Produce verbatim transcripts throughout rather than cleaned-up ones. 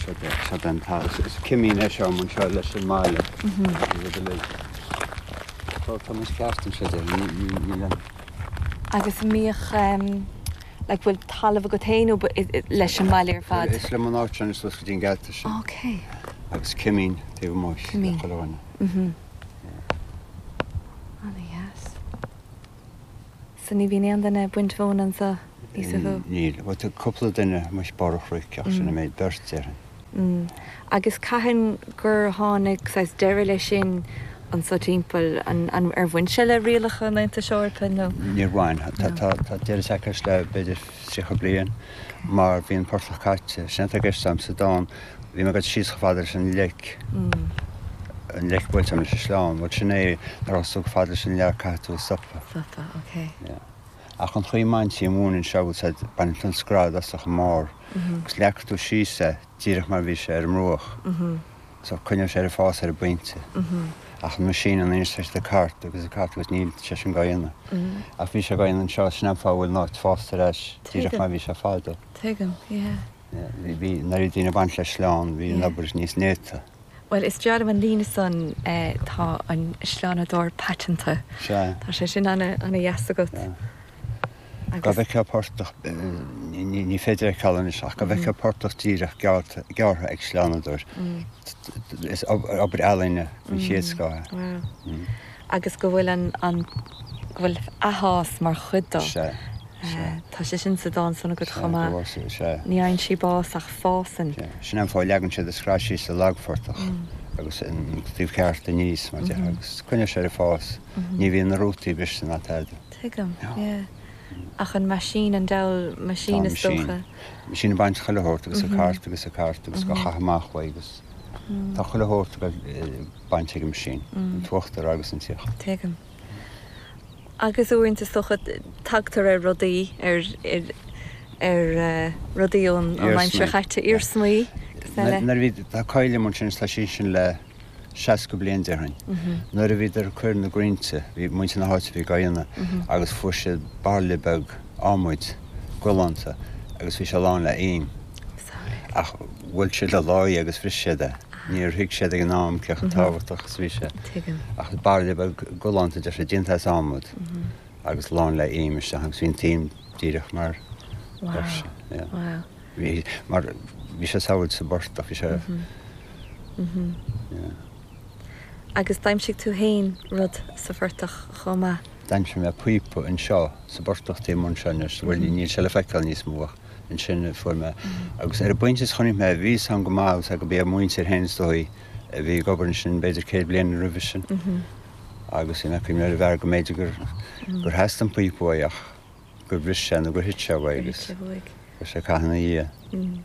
Seo den Is cimín é seo mun seo leis an mbaile. Tá tá mis ceart sé ní Agus míoch le bhfuil talamh agat féin nó leis an mbaile ar fad. Is le an áit sin suas go dtí'n geata sin. Ok. Agus cimín taobh amuigh Cimín. chuile. Mhm. Ana-dheas. So ní bhíonn aon duine ag baint mhóna anseo níos mó. Níl, bhuel tá cúpla duine muis barr chnoic ach sin an méid beirt déarfainn. Mm. Agus cathain gur tháinig saghas deireadh leis sin anseo timpeall an, an ar bhain sé le rialacha an Aontais Eorpaigh nó? Níor bhain tá deireadh tagtha le b'fhéidir tríocha bliain mar bhí an portach caite sin atá i gceist agam sa dán bhí mé ag dul síos chomh fada leis an leic an leic buailte leis an sleán, bhuel sin é nuair a chomh fada leis an leac caithfidh tú stopadh. Stopadh, ok. Ach an chaoi a mbaintí an mhóin anseo bhuel baineann tú an scread as an mbarr agus leagtar tú síos é díreach mar bhí sé ar an mbruach. So coinneoidh sé ar fás ar an bpointe. Ach an machine an anois tá cairt agus a cairt agus níl sé sin á dhéanamh. Ach bhí sé á dhéanamh anseo sin an fáth a bhfuil an áit fásta ar ais díreach mar bhí sé fadó. Tuigim, yeah. Bhí nuair a bhí daoine ag baint le sleán, bhí an obair níos néata. Well is dear an líne san eh, tá an sleánadóir paiteanta. Sea. Tá sé sin ana ana-dheas agat. Go bhfeicfeá portach ní féidir é feiceáil anois ach go bhfeicfeá portach díreach gearrtha ag sleánadóir. Is obair ealaíne den chéad scoth. Wow. Agus go bhfuil an, an go bhfuil athfhás mar chuid dó. Sea. Tá sé sin sa dán san agat chomh maith. Sea. Ní fhaigheann sí bás ach fásann. Sin an fáth leagann siad an scraith síos sa lagphortach agus an taobh ceart aníos mar deir agus coinneoidh sé ar fás. Ní bhíonn na rútaí briste ná tada. Tuigim, yeah. Ach an machine an diabhal machine is dócha. Machine ag baint chuile shórt agus a cairt agus a cairt agus go chaith amach uaidh agus tá chuile shórt bainte ag an machine, an t-uachtar agus an t-íochtar. Tuigim. Agus uaireanta is dócha tagtar ar rudaí ar ar ar uh, rudaí ón ón aimsir chaite iarsmaí agus eile. Nuair a bhí tá coill ansin tá sí sin le seasca bliain déarfainn. Nuair a bhíodar ag cur na gcrainnte, bhí muintir na háite bhí á dhéanamh agus fuair siad bairille beag adhmaid galánta agus bhí sé lán le im. Ach bhuail siad le láí agus bhris siad é. Níor thuig siad ag an am cé chomh tábhachtach is bhí sé. Tuigim. Ach bairille beag galánta de sé déanta as adhmad agus lán le im isteach agus bhí an t-im díreach mar Wow. yeah. Wow. Bhí mar bhí sé sábháilte sa bportach bhí sé yeah. Agus d'aimsigh tú féin rud sa phortach chomh maith. D'aimsigh mé píopa anseo sa bportach taobh amuigh anseo anois, bhuel níl sé le feiceáil níos mó ach ansin a fuair mé. Agus ar an bpointe is chonaic mé bhí san go maith agus go b'é a muintir féin is dóigh a bhí ag obair ansin b'fhéidir céad bliain roimhe sin. Agus bhí mé ag cuimhneamh ar an bhfear go mb'fhéidir gur gur theastaigh an píopa uaidh ach gur bhris sé nó gur thit sé uaidh agus Thit sé uaidh. gur sé caitheamh ina dhiaidh.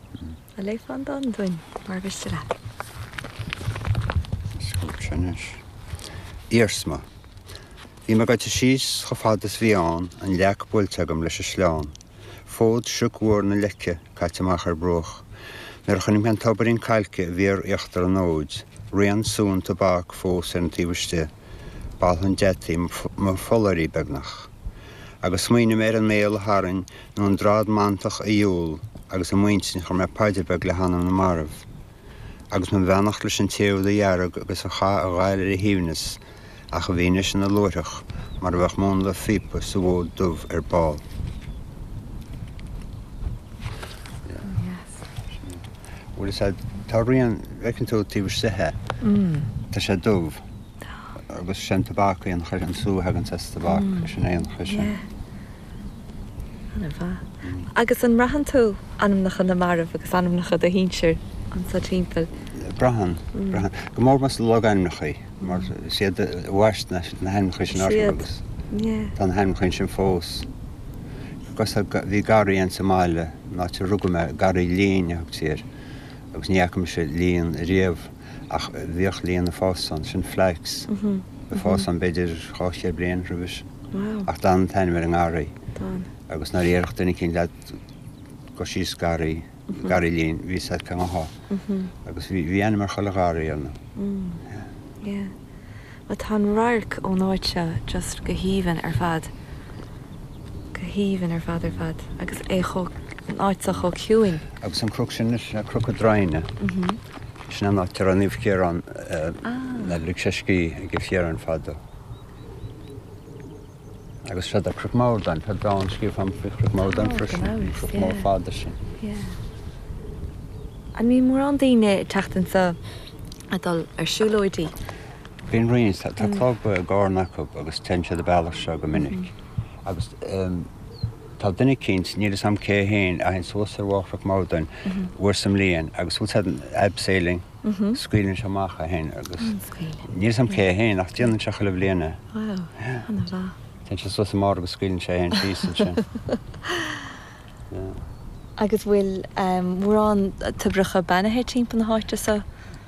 An léifeá an dán dúinn mar mhiste leat. Anois. Iarsma. Bhí mé gaite síos chomh fada is bhí ann an leac buailte agam leis an sleán. Fód sioc mhór na leice caite amach ar bruach. Nuair a chonaic mé an tobairín cailce a bhí ar íochtar an fhóid, rian sú an tobac fós ar an taobh istigh, b'althan deataí mo pholláirí beagnach. Agus smaoinigh mé ar an mbéal a tharraing nó an drad mantach a dhiúl agus i m'intinn chuir mé paidir beag le hanam na marbh. Agus mo bheannacht leis an té a dhearg agus a chaith a ghail ar a shuaimhneas ach a bhí anois ina luaithreach mar a bheadh múnla phíopa sa bhfód dubh ar ball. Yes. Bhuel is tá rian feiceann tú taobh istigh é. Tá sé dubh agus sin tobac an chuir an sú thagann as tobac sin é an chuir sin. Yeah. Ana-mhaith. Agus an mbraitheann tú anamnacha na marbh agus anamnacha do shinsir anseo timpeall. Braitheann, braitheann. Go mór más logainmneacha mar is iad a bhaist na na hainmneacha sin orthu Siad. agus Yeah. tá na hainmneacha sin fós. Agus bhí garraí an sa mbaile an áit a rugadh mé garraí lín a thugtaí air agus ní fhaca mise líon riamh ach bhíodh líon ag fás ann sin flax. Ag fás ann b'fhéidir dhá chéad bliain roimhe. Wow. Ach d'fhan an t-ainm ar an ngarraí. D'fhan. Agus nuair a déarfadh duine éicint leat go síos garraí, garraí lín, bhí a fhios agat cén fáth. Agus bhí bhí ainm ar chuile gharraí ar Mm. Yeah. Well tá an radharc ón áit seo just go haoibhinn ar fad. Go Go haoibhinn ar fad ar fad agus é chomh, an áit seo chomh ciúin. Agus an cnoc sin, sin é Cnoc na Droighne. Sin an áit a raibh Naomh Ciarán a lig sé scíth ag Naomh Ciarán fadó. Agus seo é Cnoc Mordáin, tá dán scríofa agam faoi Chnoc Mordáin freisin, an cnoc mór fada sin. An mbíonn mórán daoine ag teacht anseo ag dul ar siúlóidí? Bíonn roinnt. Tá club i gCarna acu agus téann siad an bealach seo go minic. Agus tá duine eicínt, níl fhios a'm cé féin, a théann suas ar bharr Chnoc Mordáin uair sa mbliain agus bhfuil fhios a'd abseiling, scaoileann sé amach é féin agus níl fhios a'm cé féin ach déanann sé chuile bhliain é. Wow, ana-mhaith. Téann sé suas an barr agus scaoileann sé é féin síos ansin. Agus bhfuil mórán toibreacha beannaithe timpeall na háite seo?